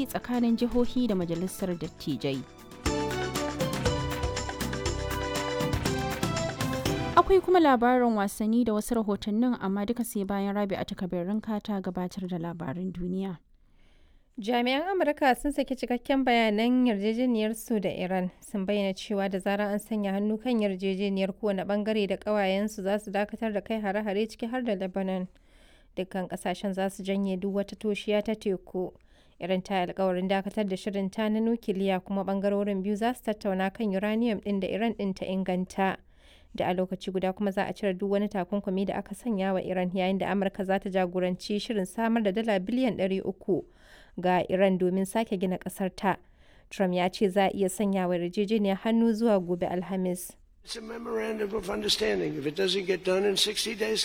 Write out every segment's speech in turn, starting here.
yi tsakanin jihohi da majalisar dattijai. Akwai kuma labarin wasanni da wasu rahotannin, amma duka sai bayan Rabi a takabirin ta gabatar da labarin duniya. Jami'an Amurka sun saki cikakken bayanan yarjejeniyar su da Iran, sun bayyana cewa da zarar an sanya hannu kan yarjejeniyar, kowane bangare da ƙawayensu za su dakatar da kai hare-hare, ciki har da Lebanon. Dukkan kasashen za su janye duk wata toshiya ta teku. Iran ta yi alkawarin dakatar da shirin ta na nukiliya, kuma bangarorin biyu za su tattauna kan uranium ɗin da Iran ɗin ta inganta. Da a lokaci guda kuma za a cire duk wani takunkumi da aka sanya wa Iran, yayin da Amurka za ta jagoranci shirin samar da dala biliyan 300 ga Iran domin sake gina kasar ta. Trump ya ce za a iya sanya wa yarjejeniyar hannu zuwa gobe Alhamis.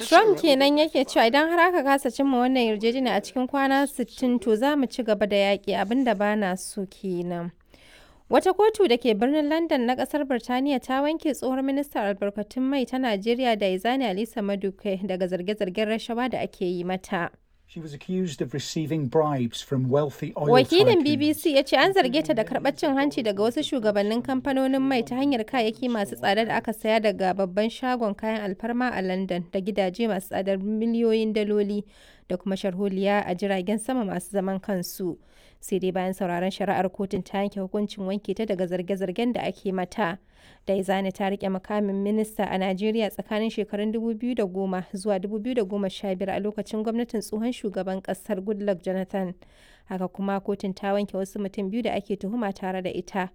Trump kenan yake cewa idan har aka kasa cimma wannan yarjejeniya a cikin kwana 60, to za mu ci gaba da yaƙi, abinda ba na so kenan. Wata kotu da ke birnin London na kasar Birtaniya ta wanke tsohon ministan albarkatun mai ta Najeriya da Izani Alisa Maduke daga zarge-zargen rashawa da ake yi mata. She was accused of receiving bribes from wealthy oil Wakilin tycoons. BBC ya ce an zarge ta da karɓar cin hanci daga wasu shugabannin kamfanonin mai ta hanyar kayayyaki masu tsada da aka saya daga babban shagon kayan alfarma a London, da gidaje masu tsadar miliyoyin daloli, da kuma sharholiya a jiragen sama masu zaman kansu. Sai dai bayan sauraron shari'ar, kotun ta yanke hukuncin wanke ta daga zarge-zargen da ake mata. Daizani ta rike mukamin minista a Najeriya tsakanin shekarun 2010 zuwa 2015 a lokacin gwamnatin tsohon shugaban kasar Goodluck Jonathan. Haka kuma kotun ta wanke wasu mutum biyu da ake tuhuma tare da ita.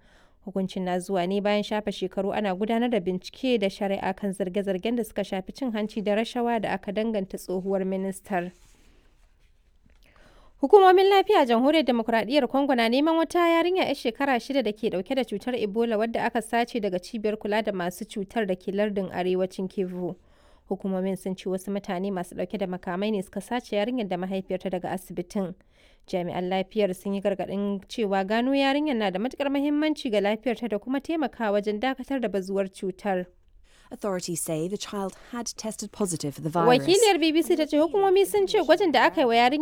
Hukuncin na zuwa ne bayan shafe shekaru ana gudanar da bincike da shari'a kan zarge-zargen da suka shafi cin hanci da rashawa da aka danganta tsohuwar ministar. Hukumomin lafiya a Jamhuriyar Demokuraɗiyyar Congo na neman wata yarinya 'yar shekara 6 da ke ɗauke da cutar Ebola wadda aka sace daga cibiyar kula da masu cutar da ke lardin arewacin Kivu. Hukumomin sun ce wasu mutane masu ɗauke da makamai ne suka sace yarinyar da mahaifiyarta daga asibitin. Jami'an lafiyar sun yi gargaɗin cewa gano yarinyar na da matuƙar muhimmanci ga lafiyarta da kuma taimakawa wajen dakatar da bazuwar cutar. Authorities say the child had tested positive for the virus. Wakiliyar BBC ta ce hukumomi sun ce gwajin da aka yi wa yarinyar